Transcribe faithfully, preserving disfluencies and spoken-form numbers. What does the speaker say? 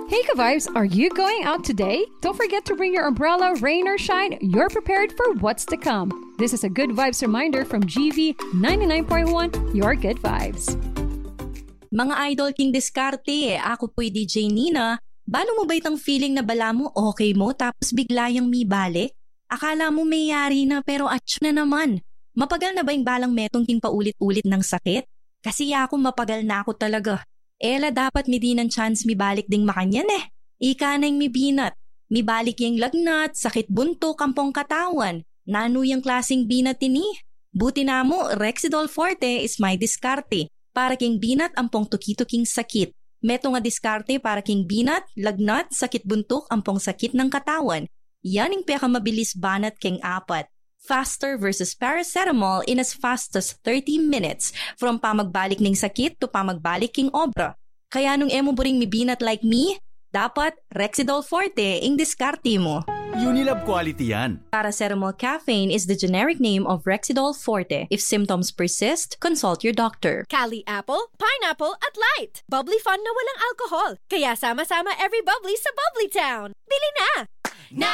Hey, ka-vibes, are you going out today? Don't forget to bring your umbrella, rain or shine. You're prepared for what's to come. This is a good vibes reminder from G V ninety-nine point one, your good vibes. Mga idol king diskarte, aku pu'y D J Nina. Balu mu ba itang feeling na balamu okay mu tapos bigla yang mibalik? Akala mu meyari na pero atsu na naman. Mapagal na ba ing balang metung king paulit-ulit nang sakit? Kasi aku mapagal na ku talaga. E la dapat midinan chance mibalik ding makanyan e. Ika na ing mibinat. Mibalik ya ing lagnat, sakit buntuk, ampong katawan. Nanu yang klaseng binat ini? Buti namu, Rexidol Forte is my diskarte para king binat ampong tuki-tuking sakit. Metung a diskarte para king binat, lagnat, sakit buntuk, ampong sakit nang katawan. Yan ing pekamabilis banat keng apat. Faster versus paracetamol in as fast as thirty minutes, from pamagbalik ning sakit to pamagbalik king obra. Kaya nung e mu buring mibinat like me, dapat Rexidol Forte ing diskarte mu. Unilab quality yan. Paracetamol caffeine is the generic name of Rexidol Forte. If symptoms persist, consult your doctor. Kali apple, pineapple, at light. Bubbly fun na walang alcohol. Kaya sama-sama every bubbly sa Bubbly Town. Bili na!